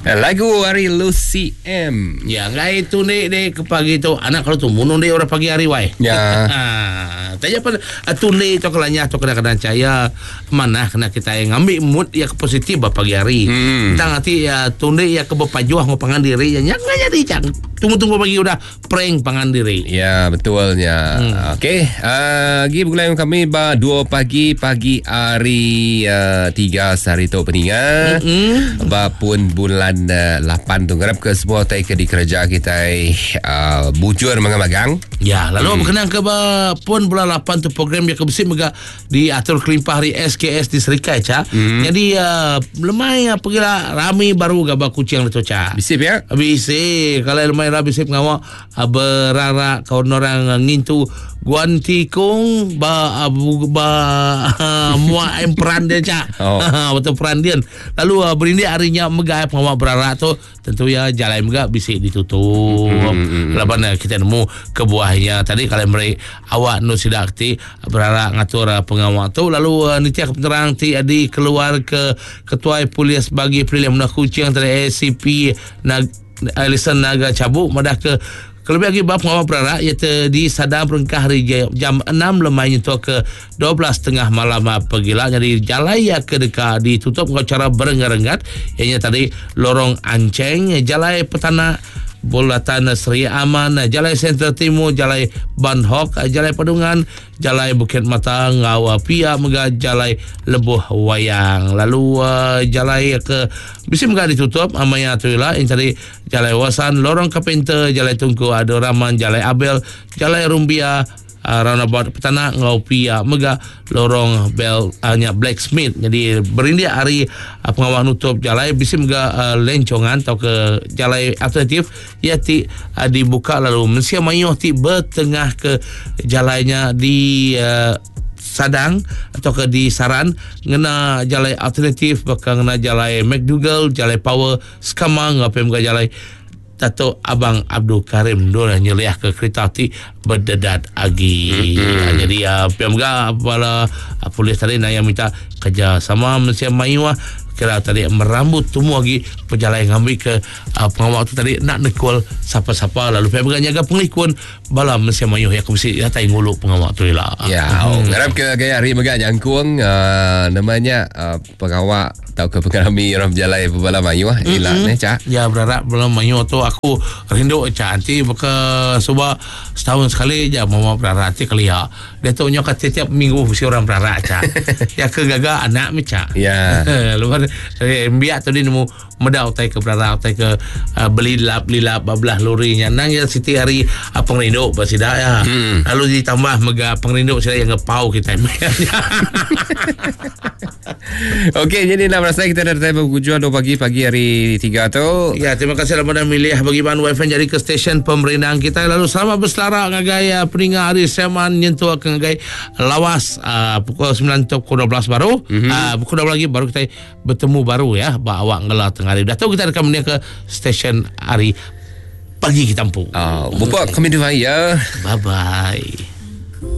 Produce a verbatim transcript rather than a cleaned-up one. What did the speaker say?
Lagu hari Lucy M. Ya, ngai tu ni ni ke pagi tu anak kalau tu munung dia orang pagi hari wai. Ya. Tanya apa tu ni tu kelanya tu kadang-kadang caya mana kena kita ngambil mood ya ke positif bah pagi hari. Hmm. Tentang nanti ya tunde ya ke berpajuah ngopangan diri ya nyak jadi cang. Tunggu-tunggu pagi udah prank pangan diri. Ya, betulnya. Hmm. Okey, uh, lagi bergulai dengan kami ba dua pagi pagi hari uh, tiga sehari tu peningan. Mm-hmm. Ba pun bulan uh, lapan tu ngarap ke semua tai ke dikerja kita uh, bujur mangang-magang. Ya, lalu hmm. berkenaan ke ba pun bulan lapan tu program yang kebesit mega diatur kelimpah hari S K S di Serikai ca. Hmm. Jadi uh, lemai uh, pergilah rami baru gaba kucing tu ca. Bisip ya? Bisip. Kalau lemai rabi sip ngawak uh, berarak kawan orang uh, ngintu guan tikung ba uh, bu, ba uh, muak emperan dia cak. Oh. Betul peran dia. Lalu uh, berindik harinya megah pengawak berarak tu tentu ya jalan megah bisik ditutup. Hmm. Laban uh, kita nemu kebuahnya tadi kalau mereka awak nu sidak ti berarak ngatur uh, pengawak tu lalu uh, nitiak penerang ti adi keluar ke ketua polis bagi pilihan menah kucing tadi A C P Nag Alison Naga Cabuk madah ke kelebih lagi bab pengawal berarak iaitu di sadar perengkah hari jam enam lemainya tu ke dua belas tengah malam pergilah. Jadi jalan ya ke dekat ditutup dengan cara berenggat-renggat ianya tadi lorong Anceng, Jalai Petana Bulatan Seri Aman, Jalai Sentral Timur, Jalai Banhok, Jalai Padungan, Jalai Bukit Mata, Ngawa Pia, mega Jalai Lebuh Wayang. Lalu uh, jalai ke bisi mega ditutup amaya tu lah yang tadi Jalai Wasan, Lorong Carpenter, Jalai Tungku Abdul Rahman, Jalai Abel, Jalai Rumbia, uh, roundabout Petana ngau Pia mega lorong Bell hanya uh, Blacksmith. Jadi berindik hari uh, pengawal nutup jalai bisi mega uh, lencongan atau ke jalai alternatif ia ti uh, dibuka lalu mensia mayuh ti bertengah ke jalainya di uh, Sadang atau ke di Saran ngena jalai alternatif bakal ngena jalai McDougall, jalai Power Skamang ngau mega jalai Dato' Abang Abdul Karim dua nyeliah ke kereta ti berdedat agi. Mm-hmm. Jadi uh, P M G bala uh, polis tadi nak yang minta kerjasama mensia mayuah kira tadi merambut tumu lagi perjalanan ngambil ke uh, pengawal tu tadi nak nekul siapa-siapa lalu P M G jaga pengelikun bala mensia mayuh yang mesti datai nguluk pengawal tu lah. Ya, oh, ngarap ke gaya hari mega nyangkung uh, namanya uh, pengawal atau ke pengarami orang berjalan bala mayuh ilah mm-hmm. ne cak. Ya berharap bala mayuh tu aku rindu cak nanti baka suba setahun sekali je mama berharap ti kelia. Dia tu nyo kat tiap minggu mesti orang berharap cak. Ya ke gaga anak mi cak. Ya. Lepas eh, biak tu dia nemu medau tai ke berharap tai ke uh, beli lap lilap babelah lorinya nang ya siti hari uh, pengrindu basida ya. Hmm. Lalu ditambah mega pengrindu sida yang ngepau kita. Okey, jadi nak rasa kita dah datang berjuang dua pagi pagi hari tiga tu. Ya, terima kasih kepada milih bagi Ban W F M jadi ke stesen pemerintah kita. Lalu selamat berselara ngagai uh, peninga hari Seman nyentuh ke ngagai lawas uh, pukul sembilan atau pukul dua belas baru. Mm-hmm. Uh, pukul dua belas lagi baru kita bertemu baru ya, bak awak ngelah tengah hari. Dah tahu kita akan menia ke stesen hari pagi kita empu. Ah, uh, buka kami dua ya. Bye bye.